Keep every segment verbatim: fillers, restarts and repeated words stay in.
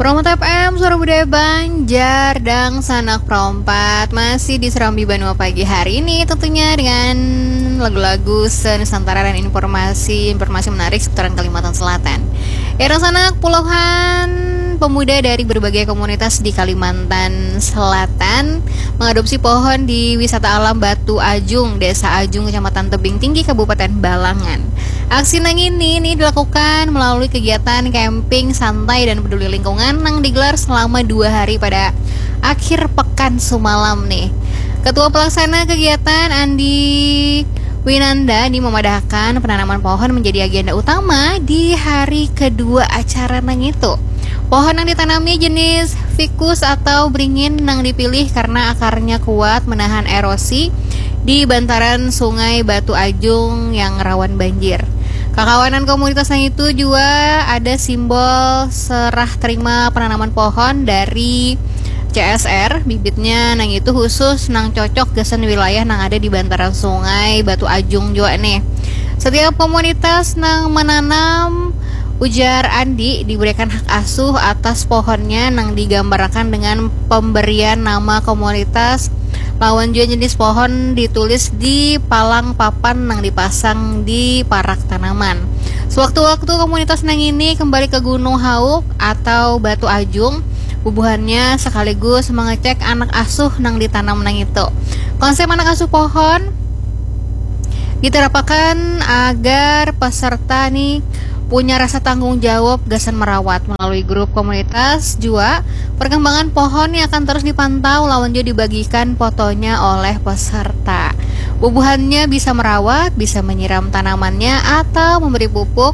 Promo T F M, Suara Budaya Banjar, Dangsanak Perompat masih di Serambi Banua pagi hari ini, tentunya dengan lagu-lagu se-Nusantara dan informasi-informasi menarik seputaran Kalimantan Selatan. Ya, Dangsanak, puluhan pemuda dari berbagai komunitas di Kalimantan Selatan mengadopsi pohon di Wisata Alam Batu Ajung, Desa Ajung, Kecamatan Tebing Tinggi, Kabupaten Balangan. Aksi nang ini nih dilakukan melalui kegiatan camping santai dan peduli lingkungan nang digelar selama dua hari pada akhir pekan sumalam nih. Ketua pelaksana kegiatan, Andi Winanda, ini memadahkan penanaman pohon menjadi agenda utama di hari kedua acara nang itu. Pohon yang ditanami jenis ficus atau beringin yang dipilih karena akarnya kuat menahan erosi di bantaran Sungai Batu Ajung yang rawan banjir. Kakawanan komunitas yang itu juga ada simbol serah terima penanaman pohon dari C S R, bibitnya nang itu khusus nang cocok gasan wilayah nang ada di bantaran Sungai Batu Ajung juga nih. Setiap komunitas nang menanam, ujar Andi, diberikan hak asuh atas pohonnya nang digambarakan dengan pemberian nama komunitas lawan juga jenis pohon ditulis di palang papan nang dipasang di parak tanaman. Sewaktu-waktu komunitas nang ini kembali ke Gunung Hauk atau Batu Ajung, bubuhannya sekaligus mengecek anak asuh nang ditanam nang itu. Konsep anak asuh pohon diterapakan agar peserta nih punya rasa tanggung jawab gasan merawat. Melalui grup komunitas jua, perkembangan pohon yang akan terus dipantau lawan juga dibagikan fotonya oleh peserta. Bubuhannya bisa merawat, bisa menyiram tanamannya atau memberi pupuk,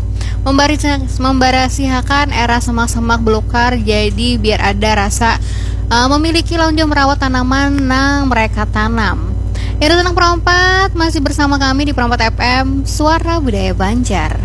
membarasihakan era semak-semak belukar, jadi biar ada rasa uh, memiliki lawan juga merawat tanaman nang mereka tanam. Ya, Dangsanak Perompat masih bersama kami di Perompat F M, Suara Budaya Banjar.